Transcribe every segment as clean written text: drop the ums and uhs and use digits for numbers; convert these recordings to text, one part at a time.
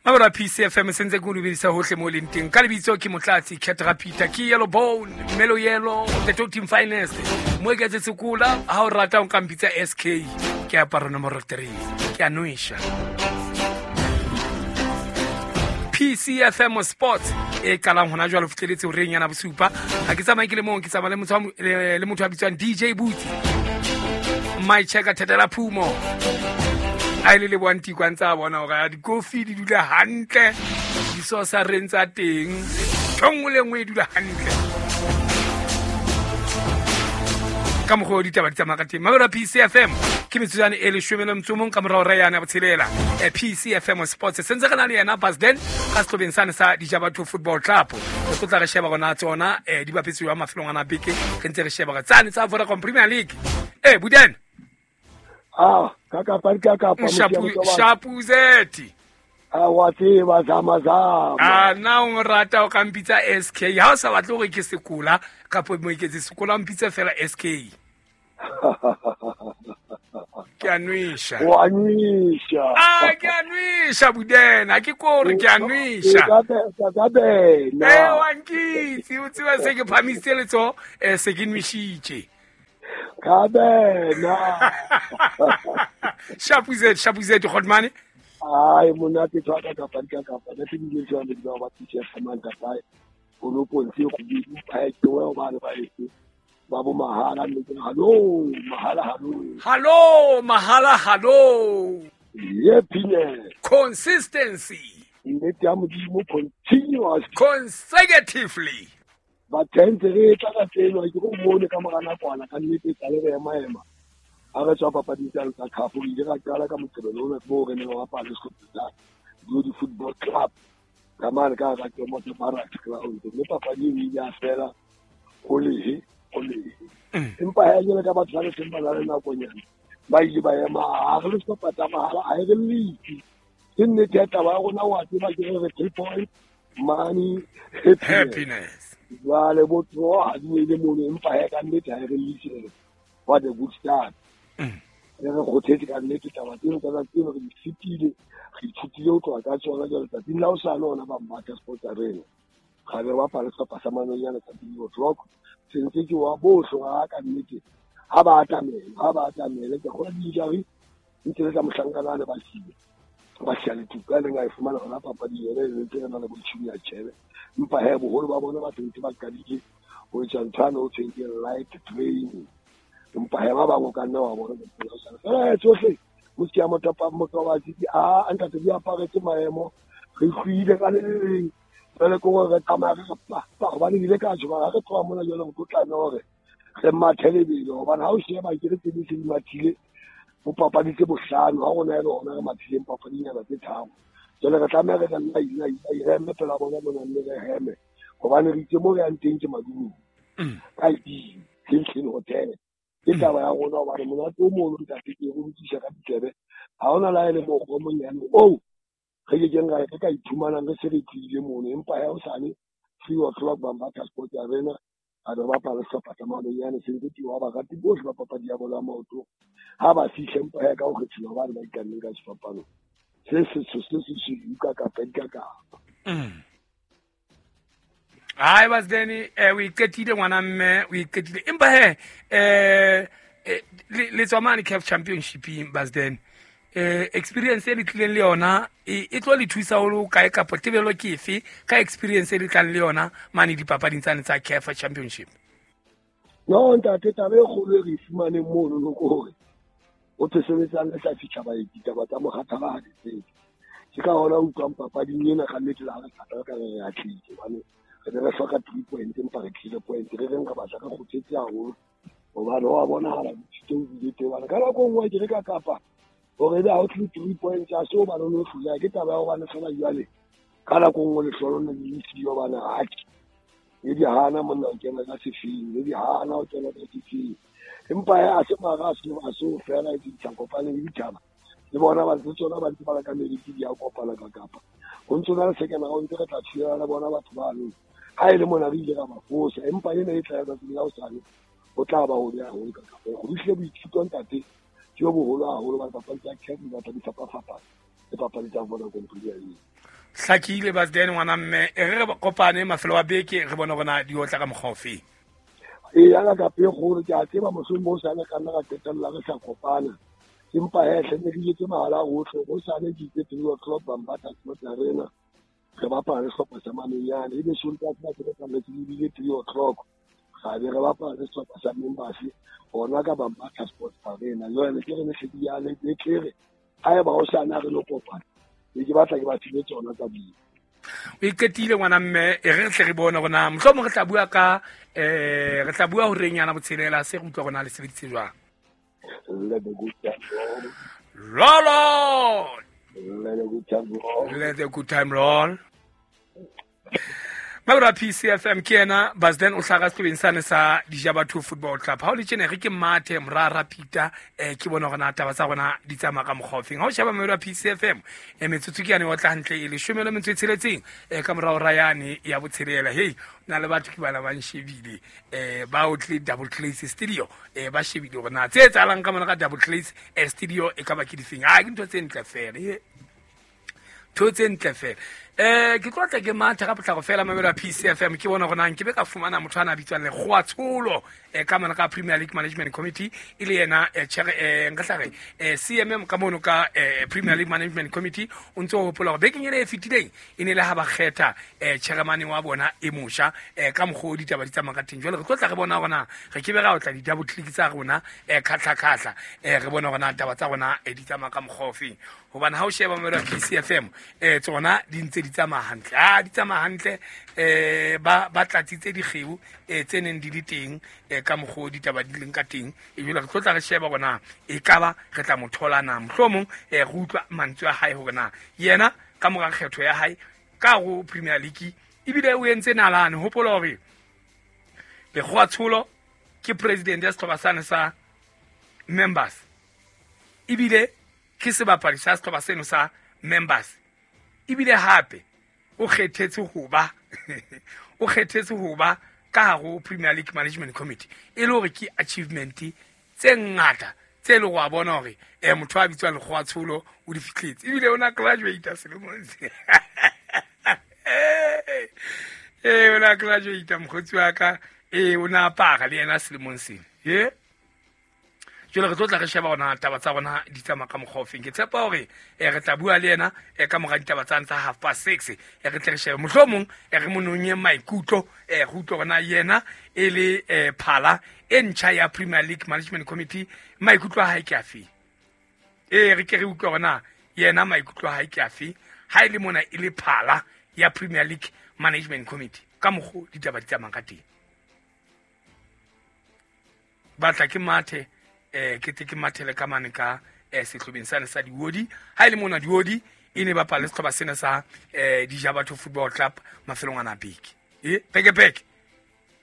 Mabelo a PCFM se ntse ke o dumedisa hohle mo leng teng. Ka lebitso ke Motlatsi Cat Rapita, ke Yellow Bone, Melo Yellow, the Top Team Finest. Mo e ka tse sekola, ha o rata o ka mpitsa SK. Ke aparo nomoro 3. Ke a nwesha. PCFM Sports e qalang hona jwale ho fihleletse horeng yana bosupa. Ha ke tsamaye ke le mong, ke tsamaya le motho wa le motho a bitswang DJ Boots. My checker Thetela Phumo. A ile le boanti kwa ntse a bona hore a dikofi di dula hantle, disosareng tsa teng, ntho nngwe le nngwe e dula hantle. Ka mokgwa o ditaba di tsamaya ka teng. Mabelo a PCFM ke metsotswane e leshome le motso o mong ka morao ra yane ya botshelela. PCFM Sports se ntse re na le yena Basden ka sehlobeng sane sa Dijabatho Football Club. Re tlo tla re sheba gona tsona di bapetse jwang mafelong ana a beke, re ntse re sheba gore tsane tsa Vodacom Premier League. Buden. Ah, ka kapa ka kapa Shapuzeti. Ah, wa tseba zama zama. Ah, na o rata o ka mpitsa SK. Ha o sa batle hore ke sekola kapa moeketsi sekola mpitse fela SK. Ke a nwesha. Wa nwesha. Ah, ke a nwesha Budena, ke kore ke a nwesha. Ka bena. Wa nkitse, o tseba se ke phamisitse letsoho, se ke nweshitše. Ka bena. Shapuzeti, Shapuzeti Godmane. Ai, monate tshwa ka kapa ka kapa. Ne ke dile jwang le ba tse fumang ka kae. O no pontse go di pa ke wa ba le ba etse. Ba bo mahala le ke halo, mahala halo. Halo, mahala halo. Ye pine. Consistency. Nnete ya Modimo continuous. Consecutively. Ba tentse re tla ka tseno ke go bone ka mora nakwana ka nnete tsa le re ema ema. Ha re tswa papading tsa tsa cup, re ile ra qala ka Moqebelo o mo re neng re bapala sehlopha sa Glory Football Club. Ka mane ka hara Kemoto Barracks ground. Mme papadi eo e ile ya fela ho lehe, ho lehe. Empa ha jwale ka batho ba le teng ba na le nakonyana, ba ile ba ema, ha re le sehlopha tsa mahala, ha e re letse. Ke nnete ya taba ya rona, wa tseba ke re re 3 point, money, happiness. Happiness. Jwale bo draw ha di ele mono, empa ha ka nnete ha e re letse. What a good start. Re re kgothetse ka nnete taba tseno tsa tseno re di fetile, re ithutile ho tloha ka tsona jwale tsatsing la hosane hona ba Mmatha Sports Arena. Ga re bapale sehlopha sa Manonyana tsa three o'clock. Se ntse ke wa bohle ha ka nnete. Ha ba atamele, ha ba atamele, ke kgolwa di-injury ntse le tsa mohlankana le ba siile. Ba siya le tuka, e leng a e fumana hona papading yona e ntse re na le bo Junior Tjhebe. Empa he, boholo ba bona ba sentse ba qadile ho etsa ntho yane ho thweng ke light training. Empa he, ba bang o ka nna wa bona fela tsohle motse ya motapa motlobatsi ke a ntate di aparetse maemo, re hlwile ka le leng. Jwale ke hore re tsamaya re re pa, pa, hobane ke ile ka tjho, ha re tloha mona jwale re tlo tlameha hore re mathe lebelo, hobane ha o sheba ke re tse ding se di mathile bo papadi tse bohlano, ha rona e le hona re mathileng papadinyana tse tharo. Jwale re tlameha re re lai, lai, lai, re eme pela bona mona mme re heme, hobane re itse mo re yang teng ke madulong. Ka ID, Hilton Hotel. Ke taba ya rona hobane monate o moholo ntate ke o utlwisisa ka ditsebe. Ha hona la e le mokgwa o monyane oo re ke keng ra re ka iphumanang re se re tlile mono, empa ha hosane 3 o'clock Bambatha Sports Arena a re bapala sehlopha sa Manonyane, se ntse ke wa barati bohle ba papadi ya bolo ya maoto. Ha ba fihle empa ya ka ho kgethiwa hobane ba ikanne ka sefapano se setsho se se sesweu ka kapa di ka kapa. Hai, Basdeni, o iqetile ngwana mme, o iqetile. Empa he, le tswa mane CAF Championship-ing, Basdeni. Experience e le tlileng le yona, e tlo le thusa ho le kae kapa tebello ke efe ka experience e le tlang le yona mane dipapading tsane tsa CAF Championship? No, ntate, taba e kgolo e re e fumaneng mono no ke hore o tlo sebetsang le sa fihla baeti, taba tsa mokgathala ha di tsebe. Ke ka hona o utlwang papading ena ka nnete le ha re qeta ka re re atlehile, hobane re ne re hloka 3 point, empa re tlile point. Re reng re batla re kgothetse haholo, hobane wa bonahala botsitso o bile teng. Hobane ka nako e nngwe ke re ka kapa hore ebe ha o tlile 3 points, ha se hobane o no hloleha, ke taba ya hobane feela jwale ka nako e nngwe lehlolo le le siyo, hobane atjhe, le di hana monna ho kena ka sefing, le di hana ho kena ka sefing. Empa he, ha se mara, ha se ho fela, e ditjhaba kopane le ditjhaba. Le bona ba ntse tsona ba ntse ba le ka meriti di a kopana ka kapa. Ho ntso na le second round re tla thulana le bona batho bano. Ha e le mona re ile ra ba fosa, empa ena e tla ya tsatsing la hosane, ho tla ba hobe haholo ka kapa. Go fihlile boithuto ntate, ke bo boholo haholo ba dipapadi tsa CAF, dipapadi fapafapana, le papadi tsa Vodacom Premier League. Hlakile Basden ngwana mme, e re re kopane mafelo a beke re bone rona di otla ka mokgwa ofe. Ee, ya ka pe kgolo ke a tseba mohlomong o sale ka nna ra qetella re sa kopana. Empa he hle ne ke jetse mahala ohle, ho sale ke itse 3 o'clock Bambata Sports Arena. Re bapala le sehlopha sa Mamenyane. Ebe Sontaha sena se re tsamaetse ebile 3 o'clock. Ra be re bapala le sehlopha sa Members hona ka Bambata Sports Arena. Jwale ke re ne hle di ya le tlere haeba ho sane ha re lo kopana. Ne ke batla ke ba file tsona tsa ding. O iqetile ngwana mme, e re tle re bone rona mohlomong re tla bua ka re tla bua horeng yana botshelela se re utlwa rona le sebeditse jwang. Let the good time roll. Roll on. Let the good time roll. Let the good time roll. Mabra PCFM ke yena Basden o hlaga sehlobeng sane sa Dijabatho Football Club. Ha o le tjena re ke mathe morara Peter ke bona hore na taba tsa rona di tsamaya ka mokgwa ofeng. Ha o sheba Mabra PCFM metsotso ke yane o tla hantle e leshome le metso e tsheletseng ka morao ra yane ya botshelela. Hey, na le batho ke bana ba nshebile ba o tle Double Glaze Studio ba shebile hore na tse etsahalang ka mona ka Double Glaze Studio e ka ba ke difeng. Ah, ke ntho tse ntle fela. Ntho tse ntle fela. Ke tlo tla ke matha ka potlako fela mamelo ya PCFM ke bona hore na nke be ka fumana motho ana a bitswang Lekgowa Tsholo ka mona ka Premier League Management Committee e le yena chair nka tla re CMM ka mono ka Premier League Management Committee. O ntse o hopola hore bekeng ena e fetileng e ne le ha ba kgetha chairman wa bona e mosha ka mokgwa o ditaba di tsamaya ka teng. Jwale re tlo tla re bona hore na re ke be ra otla di-double click tsa rona khatlha-khatlha re bone hore na taba tsa rona di tsamaya ka mokgwa ofeng. Hobane ha o sheba mamelo ya PCFM tsona di ntse di tsamaya hantle. Ah, di tsamaya hantle ba tlatsitse dikgeo tse neng di le teng ka mokgwa o ditaba di leng ka teng. Ebile re tlo tla re sheba hore na ekaba re tla mo thola na, mohlomong re utlwa mantswe a hae hore na yena ka mora kgetho ya hae ka ho Premier League ebile o entse nalane. Hopola hore Lekgowa Tsholo ke president ya sehlopha sane sa Members ebile ke sebapadi sa sehlopha seno sa Members ebile hape o kgethetse ho ba o kgethetse ho ba ka hare ho Premier League Management Committee e le hore ke achievement tse ngata tse le go a bona hore motho a bitswang Lekgowa Tsholo o di fihletse ebile o na graduate selemong se o na graduate mokgotsi wa ka o na apara le yena selemong sena ye. Jwale re tlo tla re sheba hona taba tsa rona di tsamaya ka mokgwa ofeng. Ke tshepa hore re tla bua le yena ka mora ditaba tsane tsa 6:30 re tle re shebe mohlomong re mo nonye maikutlo re utlwe hore na yena e le phala e ntjha ya Premier League Management Committee maikutlo a hae ke afe. Re ke re utlwe hore na yena maikutlo a hae ke afe ha e le mona e le phala ya Premier League Management Committee ka mokgwa ditaba di tsamayang ka teng. Batla ke mathe ke tle ke mathele ka mane ka sehlobeng sane sa Diodi. Ha e le mona Diodi e ne bapala le sehlopha sena sa Dijabatho Football Club mafelong ana a beke. Peke peke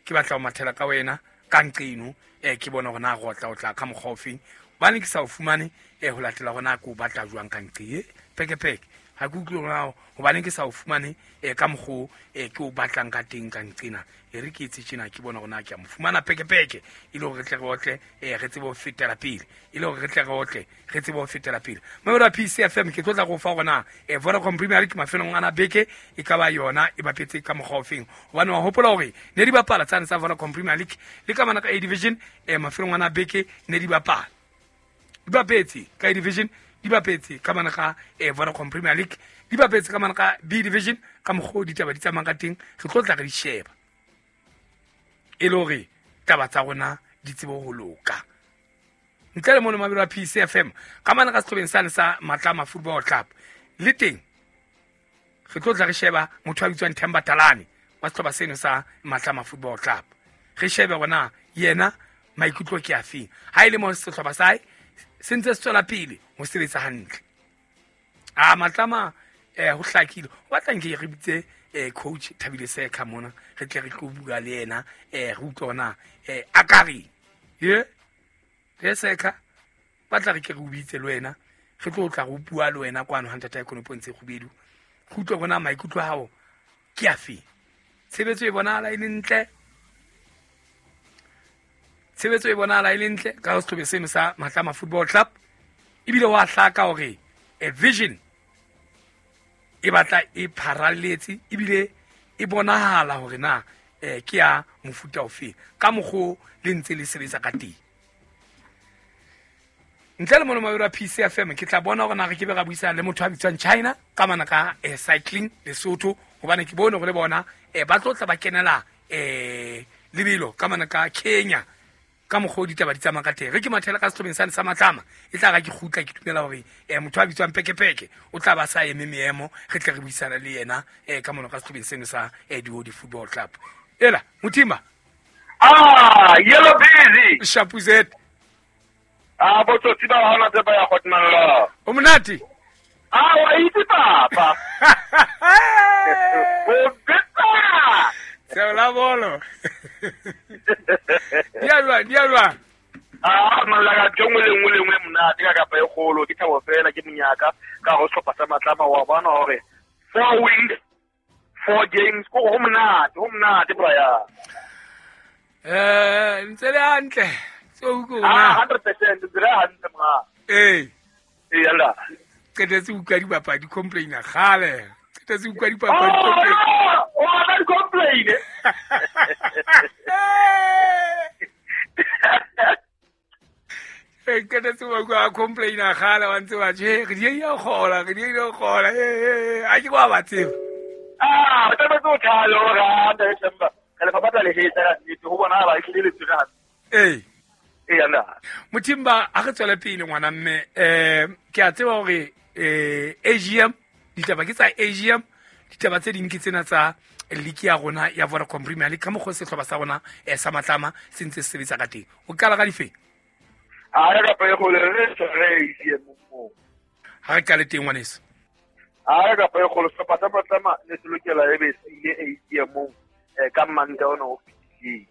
ke batla ho mathela ka wena ka nqeno ke bona hore na re otla o tla ka mokgwa ofeng hobane ke sa o fumane ho latela hore na ke o batla jwang ka nqe. Peke peke ha ke utlwe hore na hobane ke sa o fumane ka mokgwa ke o batlang ka teng ka nqena. E re ke etse tjena ke bona hore na ke a mo fumana peke peke e le hore re tle re otle re tsebe ho fetela pele e le hore re tle re otle re tsebe ho fetela pele. Mamelo ya PCFM ke tlo tla go fa hore na Vodacom Premier League mafelong ana beke e ka ba yona e bapetse ka mokgwa ofeng. Hobane wa hopola hore ne di bapala tsane tsa Vodacom Premier League le ka mana ka A Division mafelong ana beke ne di bapala di bapetse ka A Division di bapetse ka mana ka Vodacom Premier League di bapetse ka mana ka B Division ka mokgwa o ditaba di tsamayang ka teng. Re tlo tla re di sheba e le hore taba tsa rona di tsebe ho loka. Ntle le mono mabelo a PCFM ka mana ka sehlobeng sane sa Matlama Football Club le teng re tlo tla re sheba motho a bitswang Themba Talane wa sehlopha seno sa Matlama Football Club. Re shebe hore na yena maikutlo ke afeng ha e le mo sehlopha sa hae se ntse se tswela pele ho sebetsa hantle. A Matlama ho hlakile o batla nke re bitse coach Thabile Sekha mona re tle re tlo bua le yena re utlwe hore na a ka reng. Ye re Sekha batla re ke re o bitse le wena re tlo tla re bua le wena kwano ha ntata ya Konopo ntse kgubedu re utlwe hore na maikutlo a hao ke afe. Tshebetso e bonahala e le ntle, tshebetso e bonahala e le ntle ka sehlopha seno sa Matlama Football Club ebile wa hlaka hore a vision E batla e pharalletse ebile e bonahala hore na ke ya mofuta ofeng ka mokgo le ntse le sebetsa ka teng. Ntle le mono mabelo a PCFM, ke tla bona hore na re ke be ra buisana le motho a bitswang China ka mana ka cycling Lesotho, hobane ke bone hore le bona ba tlo tla ba kenela lebelo ka mana ka Kenya ka mokgwa o ditaba di tsamaya ka teng. Re ke mathela ka sehlobeng sane sa Matlama, e tla ra ke kgutla ke dumela hore motho a bitswang Pekepeke o tla ba sa eme meemo, re tle re buisana le yena ka mono ka sehlobeng seno sa Dihodi Football Club. Ela Mothimba. Yellow busy. Shapuzet. Botsotsi ba hona tse ba ya Hotman. O monate? Wa itse papa. O betsa. Tsela bolo. Dia jwang? Malaka tjongwe le nngwe le nngwe monate ka kapa e kgolo, ke thabo fela ke monyaka ka go sehlopha sa Matlama wa bona hore 4 wins, 4 games, go monate Brian. Ntse le hantle. Tseo ko na. 100% ntse le hantle mra. Eh. Yalla. Qetetse utlwa dibapadi complain kgale. Qetetse utlwa dipapadi complain. O batla di complain. Qetetse utlwa complain kgale wa ntse wa tjhe re di ya kgola, re di ya kgola. A ke kwa ba tseba. O tlametse o thale hore ha December. Re le papatla le hetsa ka nnete ho bona ba ehlile le tswe hantle. Eh. Yalla. Mothimba a re tswele pele ngwana mme ke a tseba hore AGM ditaba ke tsa AGM, ditaba tse ding ke tsena tsa league ya rona ya Vodacom Premier League ka mokgwa sehlopha sa rona sa Matlama se ntse se sebetsa ka teng. O qala ka difeng? A re ka pele kgolo re tshware AGM mo. Ha re qale teng ngwaneso. A re ka pele kgolo sehlopha sa Matlama ne se lokela e be se ile AGM ka Manta ona o fetileng.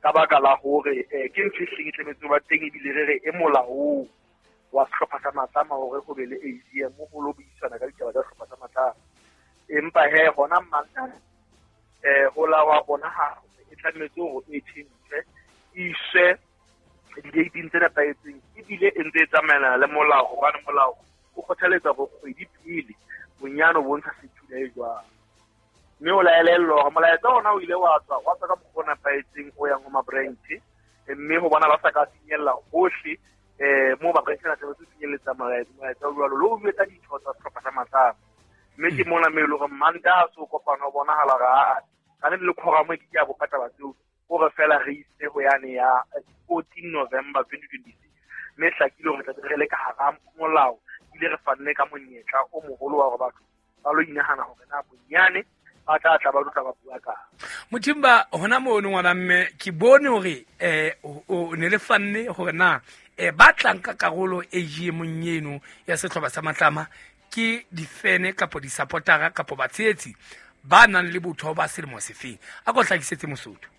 Ka baka la hore ke ntho e hleng e tlametse ba teng ebile re re e molaong wa sehlopha sa Matlama hore ho be le AGM ho lo buisana ka ditaba tsa sehlopha sa Matlama. Empa he hona Manta ho la wa bona ha e tlametse hore e tjhentjhe iswe di-dating tse nepahetseng ebile e ntse e tsamaelana le molao, hobane molao o kgothaletsa hore kgwedi pele bonyane o bontsha sethula e jwang. Mme o laelellwa hore molaetsa ona o ile wa tswa ka mokgwa o nepahetseng o yang ho ma-branch, mme ho bona ba sa ka finyella hohle moo ba-branch na tlametse ho finyelletsa molaetsa o jwalo le ho jwetsa ditho tsa sehlopha sa Matlama. Mme ke mona mme e le hore Mantaha so kopano ho bonahala hore aa ka le quorum e ke ke ya bopa taba tseo, hore fela re ise ho yane ya 14 November 2026. Mme hlakile hore tla re le ka hara molao ebile re fanne ka monyetla o moholo wa hore batho ba lo inahana hore na bonyane ba tla tla ba tla ba bua ka. Mothimba hona mono ngwana mme ke bone hore o ne le fanne hore na ba tlang ka karolo AGM eno ya sehlopha sa Matlama ke difene kapo di-supportera kapo batshehetsi ba nang le botho ba selemo sefeng. A ko hlakisetse Mosotho.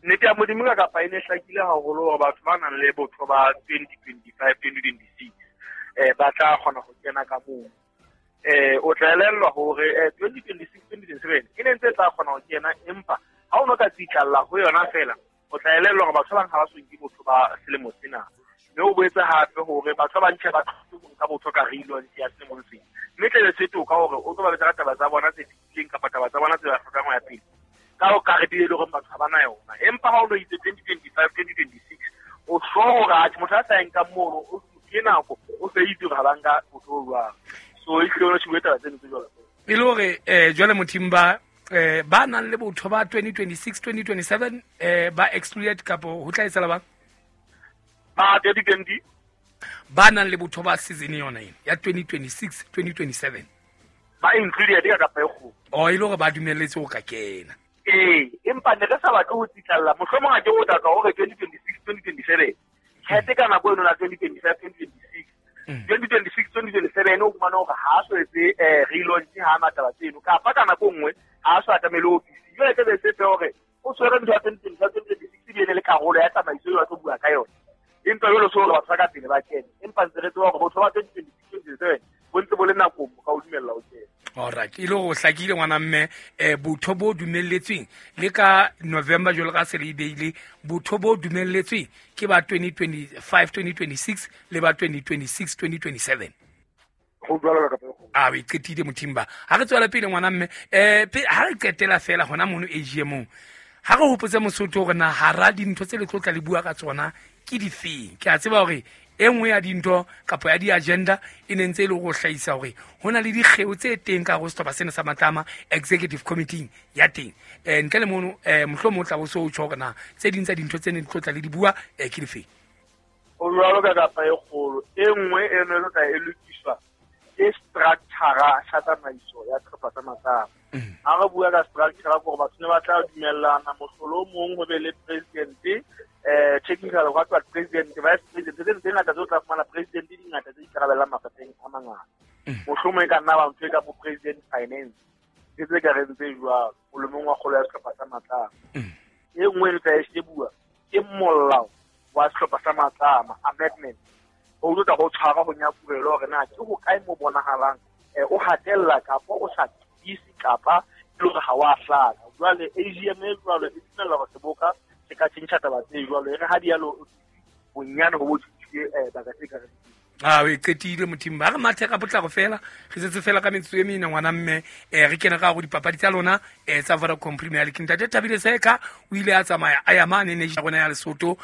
Nnete ya Modimo ka kapa e ne hlakile haholo hore batho ba nang le botho ba 2025 2026 ba tla kgona ho kena ka moo. O tla elellwa hore 2026 2027 e ne ntse tla kgona ho kena, empa ha o no ka tsitlalla ho yona fela o tla elellwa hore batho ba bang ha ba so nke botho ba selemo sena. Mme o boetse hape hore batho ba bantjha ba thuse ho nka botho ka relaunch ya selemong sena. Mme tla be se toka hore o tlo ba betsa ka taba tsa bona tse fetileng kapa taba tsa bona tse ba hlokang ho ya pele ka ho karete e le hore batho ha ba na yona. Empa ha o lo itse 2025 2026 o sure hore atjhe motho a sa nkang mono o ke nako o se itse hore ha ba nka botho bo jwang. So e hlile o taba tseno tse jwalo. E le hore jwale Mothimba ba nang le botho ba 2026 2027 ba excluded kapo ho tla etsahala bang? Ba 2020 ba nang le botho ba season yona ena ya 2026 2027 ba included ka kapa e kgolo. O e le hore ba dumelletse ho ka kena. Empa ne re sa batle ho tsitlalla mohlomong ha ke o tla hore 2026 2027 tjhelete ka nako eno la 2025 2026 2026 2027 o fumana hore ha so etse relaunch ha na taba tseno kapa ka nako nngwe ha so atamele ofisi. Jwale tebe se fe hore o tshwere ntho ya 2025 2026 e le karolo ya tsamaiso eo ba tlo bua ka yona. Empa jwale so hore batho ba ka pele ba kene, empa ntse re tseba hore botho ba 2026 2027 bo ntse bo le nakong bo ka o dumella ho kena. Alright, e le hore o hlakile ngwana mme botho bo dumelletsweng le ka November jwalo ka se le beile, botho bo dumelletsweng ke ba 2025 2026 le ba 2026 2027. Ho jwalo ka kapa. A o e qetile mothimba. Ha re tswela pele ngwana mme, ha re qetela fela hona mono AGM-ong, ha re hopotse Mosotho hore na hara dintho tse le tlo tla le bua ka tsona ke difeng. Ke a tseba hore e nngwe ya dintho kapa ya di-agenda e ne ntse e le go hlahisa hore ho na le dikgeo tse teng ka hare ho sehlopha sena sa Matlama executive committee ya teng. Ntle le mono, mohlomong o tla bo so o tjho hore na tse ding tsa dintho tse ne di tlo tla le di bua ke difeng. Ho jwalo ka kapa e kgolo. E nngwe e ne tlo tla e lokiswa ke structure sa tsamaiso ya sehlopha sa Matlama. Ha re bua ka structure ke hore batho ne ba tla dumellana mohlolo o mong ho be le president, technical what what president, vice president, tse tse ngata tse o tla fumana president di ngata tse ikarabellang mafapheng a mangata. Mohlomong e ka nna ba ntho e ka bo president finance, ke tse ka reng tse jwalo molomong wa kgolo ya sehlopha sa Matlama. E nngwe e tla e shebuwa ke molao wa sehlopha sa Matlama amendment. Ho tlo tla ho tshwara ho nyakurelo hore na ke ho kae mo bonahalang o hatella kapa o sa tiise kapa e le hore ha wa hlaka. Jwale AGM e jwalo e dumella hore seboka se ka tjhentjha taba tse jwalo, e re ha dialo bonyane ho bo tjhentjhile baka tse ka reng. A o e qetile mothimba. Ha re mathe ka potlako fela, re setse fela ka metsotso e mene ngwana mme, re kene ka hare ho dipapadi tsa lona tsa Vodacom Premier League. Ntate Thabile Seka o ile a tsamaya a ya mane ne ya rona ya Lesotho.